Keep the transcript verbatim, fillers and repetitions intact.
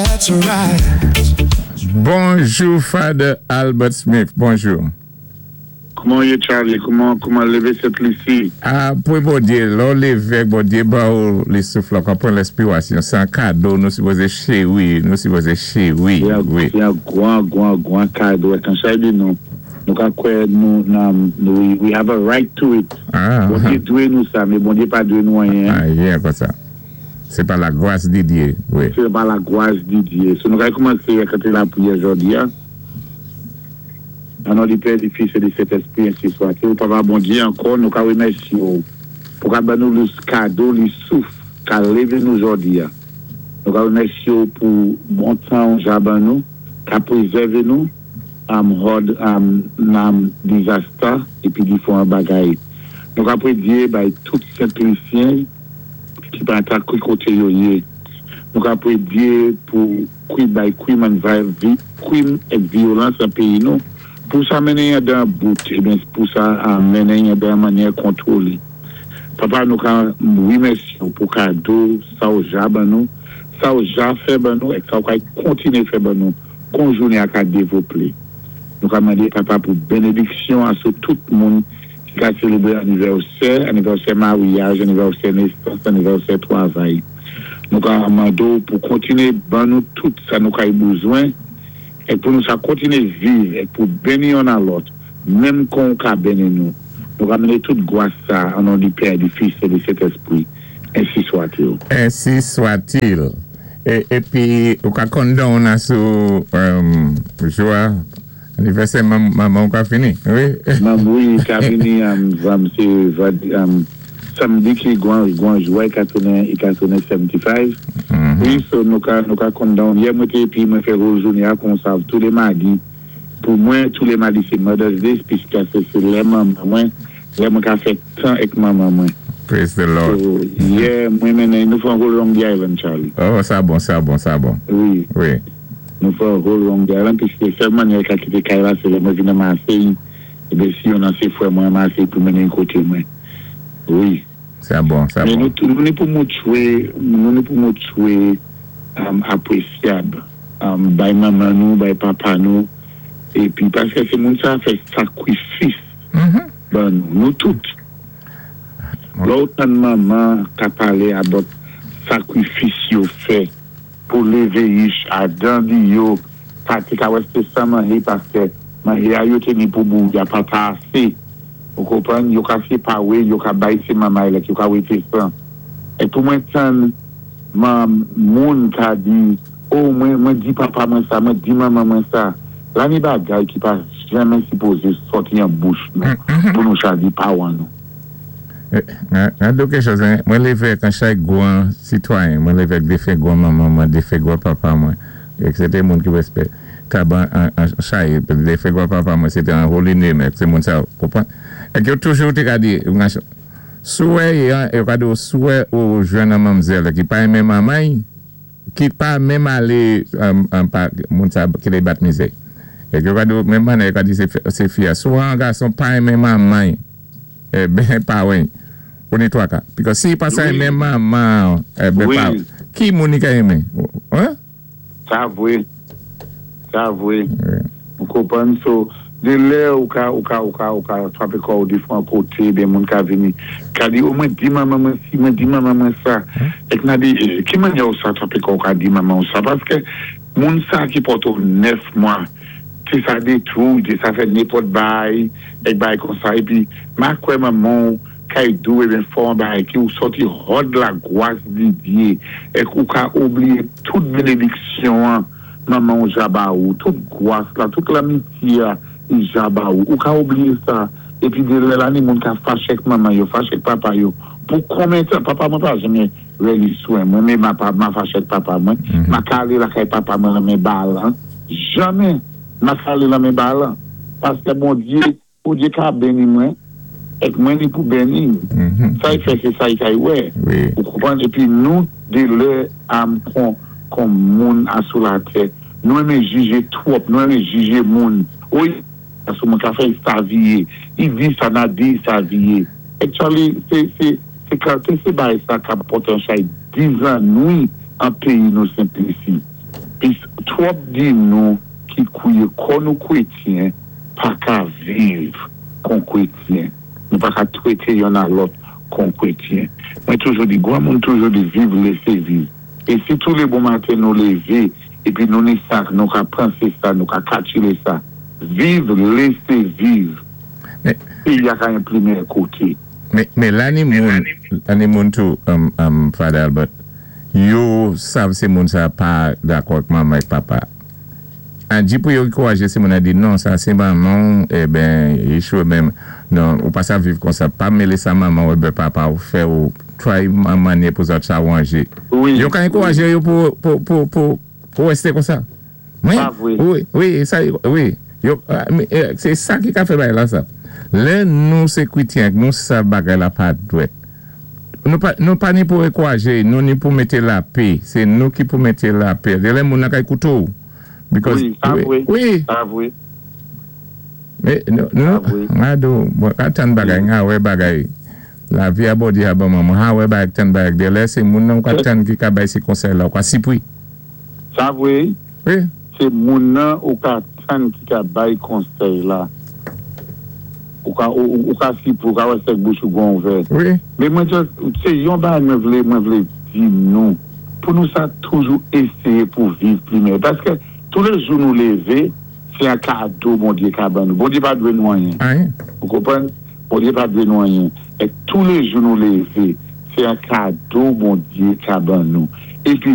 That's right. Bonjou, Father Albert Smith. Bonjou. Kouman yé, Charlie? Kouman, kouman lévé Sent Lisi? Ah, pou Bondyé, lò lévé, Bondyé ba ou li souf la, konpwann lespirasyon. Sé an kado, nou sipozé chéwi, nou sipozé chéwi. Sé Wi. Sé an gwan, gwan, gwan kado. Kan sa di nou, nou ka kwè nou, nan, we, we have a right to it. Ah, Bondyé dwé nou sa, mé Bondyé pa dwé nou anyen. Anyen kon sa. Sé pa la gwas di Dyé, wi. Sé pa la gwas di Dyé. So nou ka koumansé ak lapriyè jòdi a. An non di Pè, di Fis é di Sentespwi, ensi swa-t-il. Papa Bondyé, ankò, nou ka wimèsyé ou pou ka ban nou lé kado, li souf, ka lévé nou jòdi a. Nou ka wimèsyé ou pou bon tan ou ja ban nou, ka pwézèvé nou, am hòd am nan dizasta épi difwan bagay. Nou ka pwé Dyé bay tout Sent-Lisyen ki pa ta ki koté yo yé. Nou ka pwé Dyé pou kwi bay kwim an vi, kwim èk vyolans an péyi nou. Pou sa mennen dan bout, ébyen pou sa a mennen dan mannyè kontwolé. Papa, nou ka wimèsyé ou pou kado sa ou ja ban nou, sa ou ja fè ban nou, èk sa ou ka kontiné fè ban nou, kon jounen a ka dévloplé. Nou ka mandé papa pou bénédiksyon a sou tout moun ki ka sélébré anivèsè, anivèsè maryaj, anivèsè nésans, anivèsè twavay. Nou ka mandé ou pou kontiné ban nou tout sa nou ka bezwen, é pou nou sa kontiné viv, é pou béni youn a lòt, menm kon ou ka béni nou. Nou ka mennen tout gwas sa, an non di Pè, di Fis é di Sentespwi. Ensi swa-t-il. Ensi swa-t-il. É, épi, ou ka kondon nan sou um, jwa anivèsè manman ou ka fini, wi? Mam, wi, ka vini, um, vam, sé, um, samdi ki gwan, gwan jwa, i ka tounen, i ka tounen katrevensenk. Wi, so nou ka, nou ka kondon. Yè mwen té, épi mwen fè whole jounen a kon sav, tou lé madi. Pou mwen, tou lé madi sé Mother's Day, piskè sé sé lè manman mwen, lè mwen ka fè tan èk manman mwen. Praise the Lord. So, yè, mwen mennen, nou fè an whole Long Island, Charlie. Oh, sa bon, sa bon, sa bon. Wi. Wi. Nou fè an whole Long Island, piskè sèl mannyè ka kité kay la, sé lè mwen vin nan Marseille, ébyen si yon nan sé fwè mwen Marseille pou mennen koté mwen. Wi. Sa bon, sa Mé bon. nou, nou ni pou moutwé, nou ni pou moutwé um, apwesyab um, bay manman nou, bay papa nou, épi paskè sé moun sa fè sakwifis Mhm. ban nou, nou tout. Lò ou tann manman ka palé about sakwifis yo fè pou lévé yich a dan di yo, ka té ka wè sé san manjé paskè manjé a yo té ni pou bou, ya pa ta asé. Ou konpwann, yo ka sé pa wé, yo ka bay sé manman lèt, yo ka wété san. É pou mwen tann man moun ka di, oh mwen, mwen di papa mwen sa, mwen di manman mwen sa. La ni bagay ki pa janmen sipozé sòti an bouch nou, pou nou cha di pawan nou. An do kèk chòz, mwen lévé ak an chay gwan sitwayen, mwen lévé ak défen gwan manman mwen, défen gwan papa mwen, ek sé té moun ki wéspéktab an, an chay, défen gwan papa mwen, sé té an holy name, ek sé moun sa, konpwann? Ek yo toujou té ka di, souwè, yo ka di ou souwè ou jwenn an manmzèl ki pa renmen manman, ki pa menm alé, moun sa ki lé bat mizè. Ek yo ka di, menm manè, yo ka di sé fi a, souwè an gason pa renmen manman, eh ben pa wè, ou ni twa ka. Because si pa sa renmen manman, eh ben pa, ki moun ni ka renmen? Sa vwé, sa vwé. Ou konpwann, so, de lè ou ka, ou ka, ou ka, ou ka twapé kò ou difwan koté, ben moun ka vini, ka di, ou mwen di manman mwen si, mwen di manman mwen sa, ek nan di, ki manyè ou sa twapé kò ou ka di manman ou sa, paskè moun sa ki pòté ou nèf mwa, té sa détwou, té sa fè nenpòt bay, ek bay kon sa, épi, ma kwè manman kay dou, eben fò an bay, ki ou sòti hòd la gwas di Dyé, ek ou ka oubliyé tout bénédiksyon an, manman ou ja ba ou, tout gwas la, tout lamitye a, i ja ba ou, ou ka oubliyé sa, épi de lè la ni moun ka faché ak manman yo, faché ak papa yo, pou konbyen tan, papa mwen pa janmen reli swen, mwen mé ma, ma faché ak papa mwen, ma ka alé lakay papa mwen lanmen balan, janmen ma ka alé lanmen balan, paskè Bondyé, Bondyé ka béni mwen, ek mwen ni pou béni, sa y fè sé sa y kay wè, ou konpwann, épi nou de lè am kon, kon moun a sou latè, nou renmen jijé twòp, nou renmen jijé moun, wi, sou moun ka fè sa viye, i di sa na di sa viye. Actually, sé, sé, sé kalte sé bay sa ka pòté an chay dizannwi an péyi nou Sent Lisi. Twòp di nou ki kwiyé kò nou kwétyen pa ka viv kon kwétyen. Nou pa ka twété youn a lòt kon kwétyen. Mwen toujou di, gwan moun toujou di viv, lésé viv. É si tou lé bon maten nou lévé, épi nou ni sa, nou ka pansé sa, nou ka kalkilé sa, viv, lésé viv. Péyi a ka yon pli meyè koté. Men la ni moun, la ni moun tou, um, um, Father Albert, yo sav sé moun sa pa dakò ak manman ak papa. An di pou yo ankourajé sé moun a di non, sa sé manman, eh ben, yechwe men, non, ou pa sa viv kon sa, pa mélé sa manman ou ben papa ou fè ou try mannyè pou sa awanjé. Yo ka ankourajé yo pou, pou, pou, pou, pou wésté kon sa. Wi, wi, wi, sa, wi. Yo, sé sa ki ka fè bagay la sa. Lè nou sé kwétyen, nou sa bagay la pa dwèt. Nou pa, nou pa ni pou ankourajé, nou ni pou mété lapè. Sé nou ki pou mété lapè. Lè moun nan ka ékouté ou. Because, Wi, sa vwé. Wi. Sa vwé. Men, nou, nou, nga do, mwen ka tann bagay, nga wè bagay. Lavi a Bondye a ban mwen, mwen ha wè bagay tann bagay. Dé lè sé moun nan ka tann ki ka bay sé konsèy la, ou ka sipwi. Sa vwé. Wi. Sé moun nan ou ka tann ki ka bay konsèy la. Ou ka, ou, ou ka sipwi, ou ka wè sèk bouch ou gwan ouvè. Wi. Men mwen just, sé yon bagay mwen vlé, mwen vlé di nou, pou nou sa toujou éséyé pou viv pli meyè. Paské tou lé jou nou lévé, sé yon kado Bondyé ka ban nou. Bondyé pa dwé nou anyen. Anyen. Ou konpwann? Bondyé pa dwé nou anyen. É tou lé jou nou lévé, sé yon kado Bondyé ka ban nou. Épi